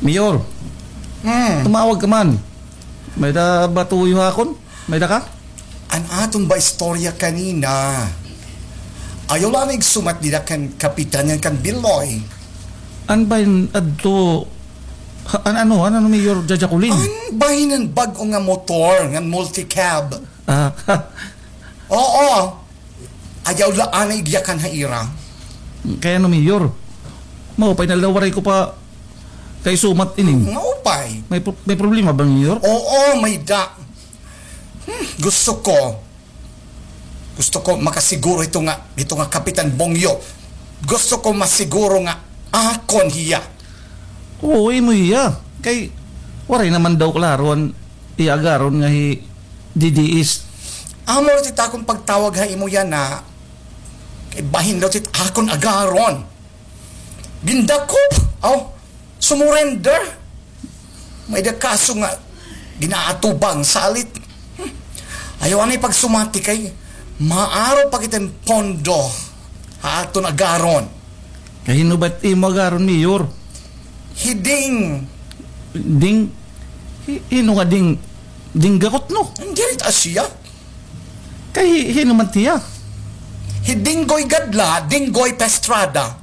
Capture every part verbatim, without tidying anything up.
Mayor, hmm, tumawag ka man. May-ada ba tuyo ha akon? May-ada ka? An aton ba istorya kanina? Ayaw la anay igsumat dida kan kapitan ngan kan Biloy. An bahin adto, ha, an ano, an ano, Mayor Jajakulin? An bahin an bag-o nga motor, nga multicab. Ah, oo. Ayaw la anay igyakan ha ira. Kay ano, Mayor? Maupay na la waray ko pa kaisumat ini. Maupay. May pro-, may problema ba, Mayor? Oo, may-ada. Hmm, gusto ko. Gusto ko makasiguro hito nga, hito nga Kapitan Bongyo. Gusto ko masiguro nga akon hiya. Oo, imo hiya. Kay waray naman daw klaro an iya agaron nga hi D D S. Amo la it akon pagtawag ha imo yana. Kay bahin daw it akon agaron. Gindakop. Aw, sumurrender. May-ada kaso nga ginaatubang salit. Hmm. Ayaw anay pagsumati kay maaro pa kita hin pondo ha aton agaron. Kay hin-o ba it imo agaron, Mayor? Hi Ding. Ding? Hi-, hin-o nga Ding? Ding Gakot, no? An diri it asya. Kay hi-, hin-o man it iya? Hi Dinggoy Gadla, Dinggoy Pestrada.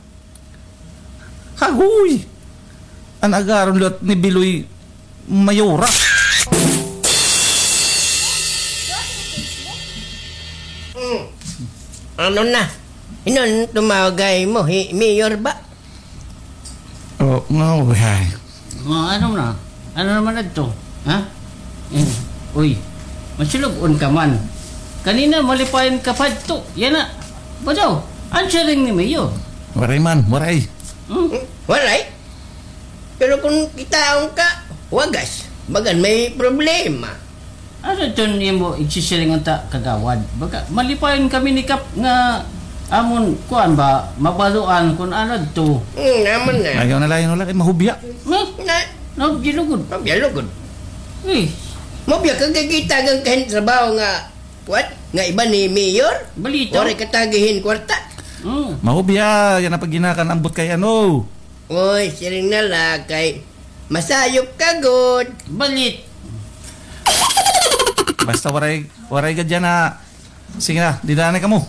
Hagoy! An agaron liwat ni Biloy Mayora. Hmm. Ano na? Hin-o an tumawag ha imo? Hi Mayor ba? Oh, nga, uy, ay. Oh, ano na? Ano naman adto? Ha? Eh, uy, masulub-on ka man. Kanina, malipayon ka pa adto. Yana. Ba daw? An siring ni Mayor. Waray man, waray. Hmm? Waray? Pero kon kitaon ka, wagas. Bagan may problema. Ano iton imo igsisiring unta, Kagawad? Baga, malipayon kami ni Kap nga amon, kuan ba, mabaluan kon ano adto. Hmm, naman na. Ayaw na la, ayaw na la, kay mahubya. Hmm? Na, nahubya lugod. Mahubya lugod. Eh. Mahubya ka, kay gitagan ka hin trabaho nga, kuan, nga iba ni Mayor? Balita. Waray ka tagi hin kwarta. Hmm. Mahubya, yana pa ginakan ambot kay ano. Oy, siring na la kay masayop ka gud. Balit. Basta waray, waray gad yana. Sige na, dida na kamo.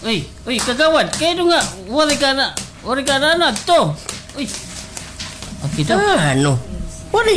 Uy, uy, Kagawad, kay ano nga, waray ka na, waray ka na, ano, adto. Uy. Ah, kita. Ah, ano?